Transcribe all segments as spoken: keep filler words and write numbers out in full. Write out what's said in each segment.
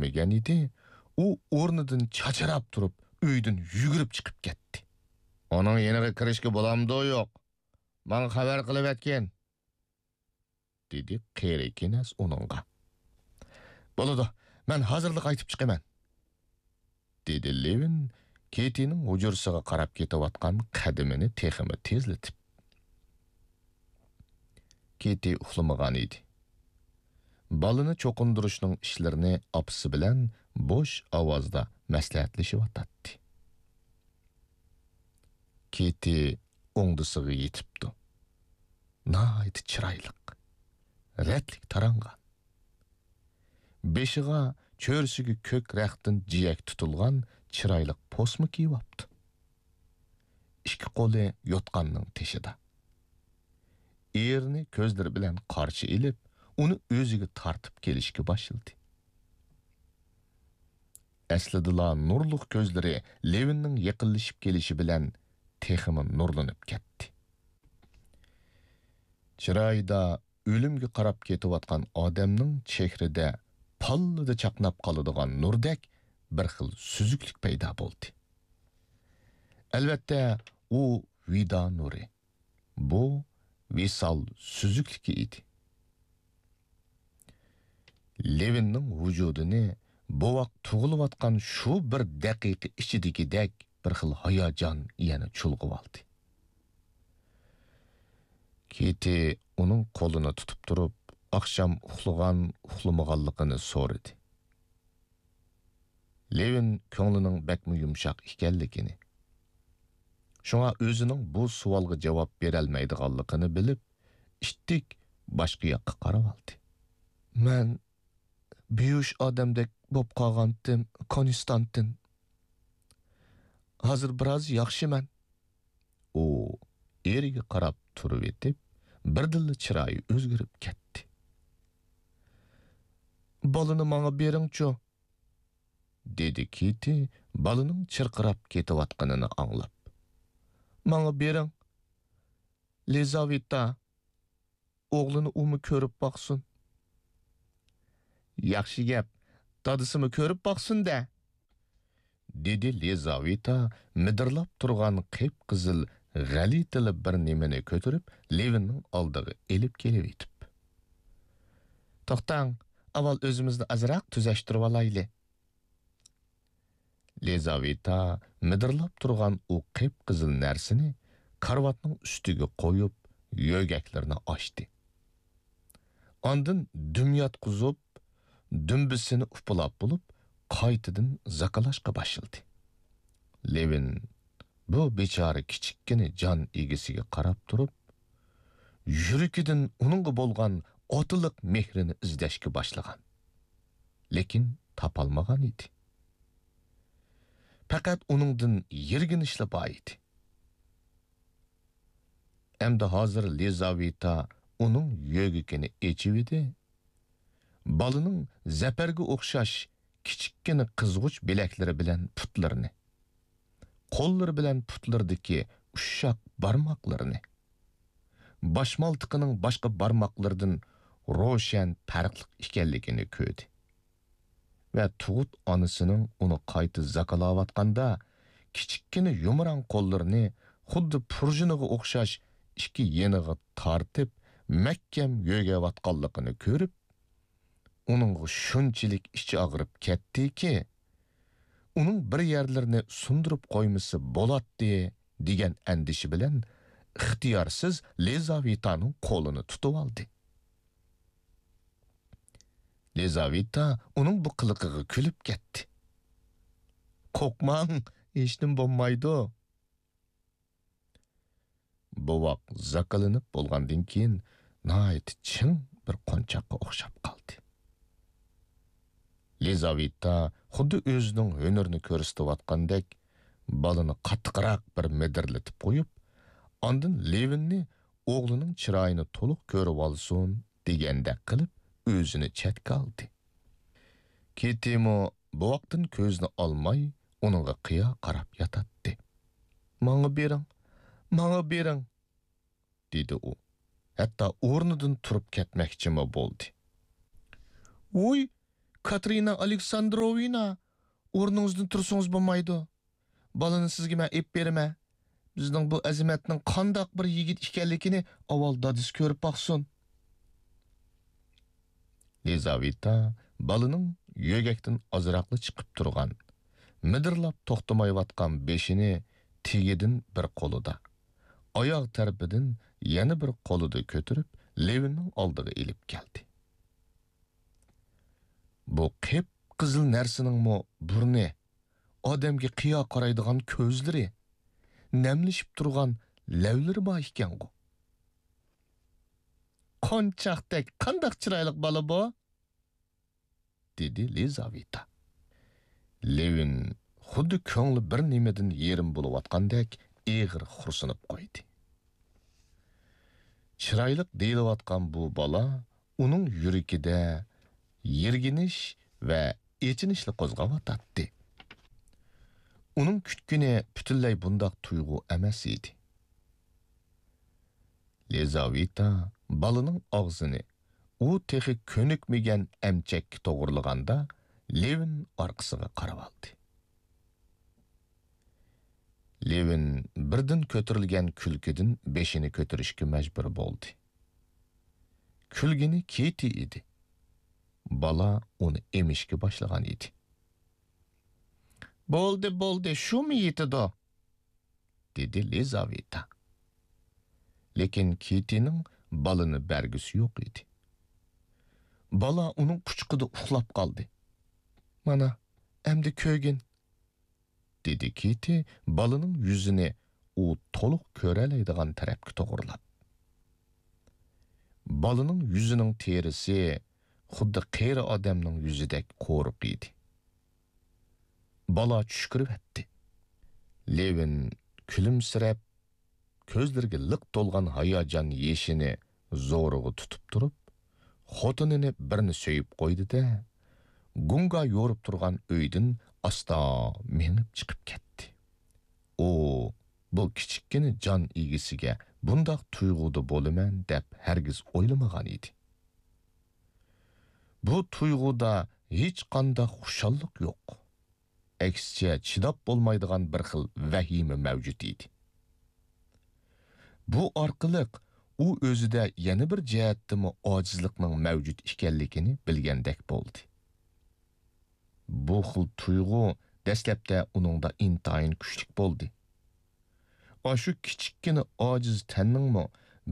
يەتمىگەن ئىدى، ئۇ ئورنىدىن چاچراپ تۇرۇپ، ئۆيدىن يۈگۈرۈپ چىقىپ كەتتى. «ئۇنىڭ يېنىغا كىرىشكە بولامدۇ يوق؟ ماڭا خەۋەر قىلىۋەتكىن!» دېدى قېرى كېنەز ئۇنىڭغا. «بولىدۇ، مەن ھازىرلا قايتىپ چىقىمەن.» دېدى لېۋىن كېتىنىڭ ھۇجرىسىغا قاراپ كېتىۋاتقان قەدىمىنى تېخىمۇ تېزلىتىپ. كېتى ئۇخلىمىغان ئىدى. بالىنى چوقۇندۇرۇشنىڭ ئىشلىرىنى ئاپىسى بىلەن بوش ئاۋازدا مەسلىھەتلىشىۋاتاتتى. كېتى ئوڭدىسىغا يېتىپتۇ. ناھايىتى چىرايلىق، رەتلىك تارانغان. بېشىغا چۆرىسىگە كۆك رەختتىن جىيەك تۇتۇلغان چىرايلىق پوسما كىيىۋاپتۇ. ئىككى قولى يوتقاننىڭ تېشىدا. ئېرىنى كۆزلىرى بىلەن قارشى ئېلىپ، ئۇنى ئۆزىگە تارتىپ كېلىشكە باشلىدى. ئەسلىدىلا نۇرلۇق كۆزلىرى لېۋىننىڭ يېقىنلىشىپ كېلىشى بىلەن تېخىمۇ نۇرلىنىپ كەتتى. چىرايىدا ئۆلۈمگە قاراپ كېتىۋاتقان ئادەمنىڭ چېھرىدە پاللىدا چاقناپ قالىدىغان نۇردەك بىر خىل سۈزۈكلۈك پەيدا بولدى. ئەلۋەتتە، ئۇ ۋىدا نۇرى. بۇ ۋىسال سۈزۈكلۈكى ئىدى. لېۋىننىڭ ۋۇجۇدىنى بوۋاق تۇغۇلۇۋاتقان شۇ بىر دەقىقە ئىچىدىكىدەك بىر خىل ھاياجان يەنە چۇلغىۋالدى. كېتى ئۇنىڭ قولىنى تۇتۇپ تۇرۇپ، ئاخشام ئۇخلىغان، ئۇخلىمىغانلىقىنى سورىدى. لېۋىن كۆڭلىنىڭ بەكمۇ يۇمشاق ئىكەنلىكىنى، شۇڭا ئۆزىنىڭ بۇ سوئالغا جاۋاب بېرەلمەيدىغانلىقىنى بىلىپ، ئىتتىك باشقا ياققا قاراۋالدى. مەن بىيۇش ئادەمدەك بوپ قالغانتىم، كونستانتىن. ھازىر بىراز ياخشىمەن. ئۇ ئېرىگە قاراپ تۇرۇۋېتىپ، بىردىنلا چىرايى ئۆزگىرىپ كەتتى. بالىنى ماڭا بېرىڭچۇ، دېدى كېتى بالىنىڭ چىرقىراپ كېتىۋاتقىنىنى ئاڭلاپ. ماڭا بېرىڭ، لىزاۋېتا. ئوغلىنى ئۇمۇ كۆرۈپ باقسۇن. ياخشى گەپ، دادىسىمۇ كۆرۈپ باقسۇن-دە، دېدى لىزاۋېتا مىدىرلاپ تۇرغان قىپقىزىل غەلىتىلا بىر نېمىنى كۆتۈرۈپ، لېۋىننىڭ ئالدىغا ئېلىپ كېلىۋېتىپ. توختاڭ، ئاۋۋال ئۆزىمىزنى ئازراق تۈزەشتۈرۈۋالايلى. لىزاۋېتا مىدىرلاپ تۇرغان ئۇ قىپقىزىل نەرسىنى كارىۋاتنىڭ ئۈستىگە قويۇپ، يۆگەكلىرىنى ئاچتى. ئاندىن دۈم ياتقۇزۇپ، دۈمبىسىنى ئۇپىلاپ بولۇپ، قايتىدىن زاكىلاشقا باشلىدى. لېۋىن بۇ بىچارە كىچىككىنە جان ئىگىسىگە قاراپ تۇرۇپ، يۈرىكىدىن ئۇنىڭغا بولغان ئاتىلىق مېھرىنى ئىزدەشكە باشلىغان. لېكىن تاپالمىغان ئىدى. پەقەت ئۇنىڭدىن يىرگىنىشلا بار ئىدى. ئەمدى ھازىر لىزاۋېتا ئۇنىڭ يۆگىكىنى ئېچىۋىدى. بالىنىڭ زەپەرگە ئوخشاش كىچىككىنە قىزغۇچ بىلەكلىرى بىلەن پۇتلىرىنى، قوللىرى بىلەن پۇتلىرىدىكى ئۇششاق بارماقلىرىنى، باشمالتىقىنىڭ باشقا بارماقلىرىدىن روشەن پەرقلىق ئىكەنلىكىنى كۆردى. ۋە تۇغۇت ئانىسىنىڭ ئۇنى قايتا زاكىلاۋاتقاندا، كىچىككىنە يۇمران قوللىرىنى خۇددى پۇرژىنىغا ئوخشاش ئىككى يېنىغا تارتىپ، مەھكەم يۆگەۋاتقانلىقىنى كۆرۈپ، ئۇنىڭغا شۇنچىلىك ئىچى ئاغرىپ كەتتىكى، ئۇنىڭ بىر يەرلىرىنى سۇندۇرۇپ قويمىسا بولاتتى، دېگەن ئەندىشە بىلەن ئىختىيارسىز لىزاۋېتانىڭ قولىنى تۇتۇۋالدى. لىزاۋېتا ئۇنىڭ بۇ قىلىقىغا كۈلۈپ كەتتى. قورقماڭ، ھېچنېمە بولمايدۇ. بوۋاق زاكىلىنىپ بولغاندىن كېيىن، ناھايىتى چىڭ بىر قونچاققا ئوخشاپ قالدى. لىزاۋېتا خۇددى ئۆزىنىڭ ھۈنىرىنى كۆرسىتىۋاتقاندەك، بالىنى قاتتىقراق بىر مىدىرلىتىپ قويۇپ، ئاندىن لېۋىننى ئوغلىنىڭ چىرايىنى تولۇق كۆرۈۋالسۇن دېگەندەك قىلىپ، ئۆزىنى چەتكە ئالدى. كېتىمۇ بوۋاقتىن كۆزىنى ئالماي، ئۇنىڭغا قىيا قاراپ ياتاتتى. ماڭا بېرىڭ، ماڭا بېرىڭ، دېدى ئۇ. ھەتتا ئورنىدىن تۇرۇپ كەتمەكچىمۇ بولدى. ۋوي، كاتېرىنا ئالېكساندروۋنا، ئورنىڭىزدىن تۇرسىڭىز بولمايدۇ. بالىنى سىزگە مەن ئېلىپ بېرىمەن. بىزنىڭ بۇ ئەزىمەتنىڭ قانداق بىر يىگىت ئىكەنلىكىنى ئاۋۋال دادىسى كۆرۈپ باقسۇن. لىزاۋېتا بالىنىڭ يۆگەكتىن ئازراقلا چىقىپ تۇرغان، مىدىرلاپ توختىمايۋاتقان بېشىنى تېگىدىن بىر قولىدا، ئاياغ تەرىپىدىن يەنە بىر قولىدا كۆتۈرۈپ، لېۋىننىڭ ئالدىغا ئېلىپ كەلدى. بۇ قىپقىزىل نەرسىنىڭمۇ بۇرنى، ئادەمگە قىيا قارايدىغان كۆزلىرى، نەملىشىپ تۇرغان لەۋلىرى بار ئىكەنغۇ. قونچاقتەك قانداق چىرايلىق بالا بۇ؟ دېدى لىزاۋېتا. لېۋىن خۇددى كۆڭلى بىر نېمىدىن يېرىم بولۇۋاتقاندەك ئېغىر خورسىنىپ قويدى. چىرايلىق دېيىلىۋاتقان بۇ بالا ئۇنىڭ يۈرىكىدە يىرگىنىش ۋە ئېچىنىشلا قوزغاۋاتاتتى. ئۇنىڭ كۈتكىنى پۈتۈنلەي بۇنداق تۇيغۇ ئەمەس ئىدى. لىزاۋېتا بالىنىڭ ئاغزىنى ئۇ تېخى كۆنۈكمىگەن ئەمچەككە توغرىلىغاندا، لېۋىن ئارقىسىغا قاراۋالدى. لېۋىن بىردىن كۆتۈرۈلگەن كۈلكىدىن بېشىنى كۆتۈرۈشكە مەجبۇر بولدى. كۈلگىنى كېتى ئىدى. بالا ئۇنى ئېمىشكە باشلىغان ئىدى. بولدى، بولدى، شۇمۇ يېتىدۇ؟ دېدى لىزاۋېتا. لېكىن كېتىنىڭ بالىنى بەرگۈسى يوق ئىدى. بالا ئۇنىڭ قۇچىقىدا ئۇخلاپ قالدى. مانا، ئەمدى كۆرگىن، دېدى كېتى بالىنىڭ يۈزىنى ئۇ تولۇق كۆرەلەيدىغان تەرەپكە توغرىلاپ. بالىنىڭ يۈزىنىڭ تېرىسى خۇددى قېرى ئادەمنىڭ يۈزىدەك قورۇق ئىدى. بالا چۈشكۈرۈۋەتتى. لېۋىن كۈلۈمسىرەپ، كۆزلىرىگە لىق تولغان ھاياجان يېشىنى زورىغا تۇتۇپ تۇرۇپ، خوتۇنىنى بىرنى سۆيۈپ قويدى-دە، گۇڭگا يورۇپ تۇرغان ئۆيدىن ئاستا مېڭىپ چىقىپ كەتتى. ئۇ بۇ كىچىككىنە جان ئىگىسىگە بۇنداق تۇيغۇدا بولىمەن دەپ ھەرگىز ئويلىمىغان ئىدى. بۇ تۇيغۇدا ھېچقانداق خۇشاللىق يوق. ئەكسىچە، چىداپ بولمايدىغان بىر خىل ۋەھىمە مەۋجۇت ئىدى. بۇ ئارقىلىق ئۇ ئۆزىدە يەنە بىر جەھەتتىمۇ ئاجىزلىقنىڭ مەۋجۇت ئىكەنلىكىنى بىلگەندەك بولدى. بۇ خىل تۇيغۇ دەسلەپتە ئۇنىڭدا ئىنتايىن كۈچلۈك بولدى. ئاشۇ كىچىككىنە ئاجىز تەننىڭمۇ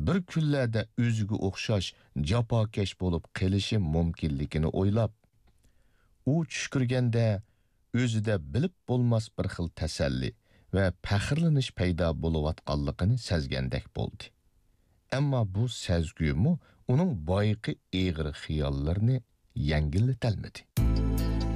بىر كۈنلەردە ئۆزىگە ئوخشاش جاپاكەش بولۇپ قېلىشى مۇمكىنلىكىنى ئويلاپ، ئۇ چۈش كۆرگەندە ئۆزىدە بىلىپ بولماس بىر خىل تەسەللى ۋە پەخىرلىنىش پەيدا بولۇۋاتقانلىقىنى سەزگەندەك بولدى. ئەمما بۇ سەزگۈمۇ ئۇنىڭ بايىقى ئېغىر خىياللىرىنى يەڭگىللىتەلمىدى.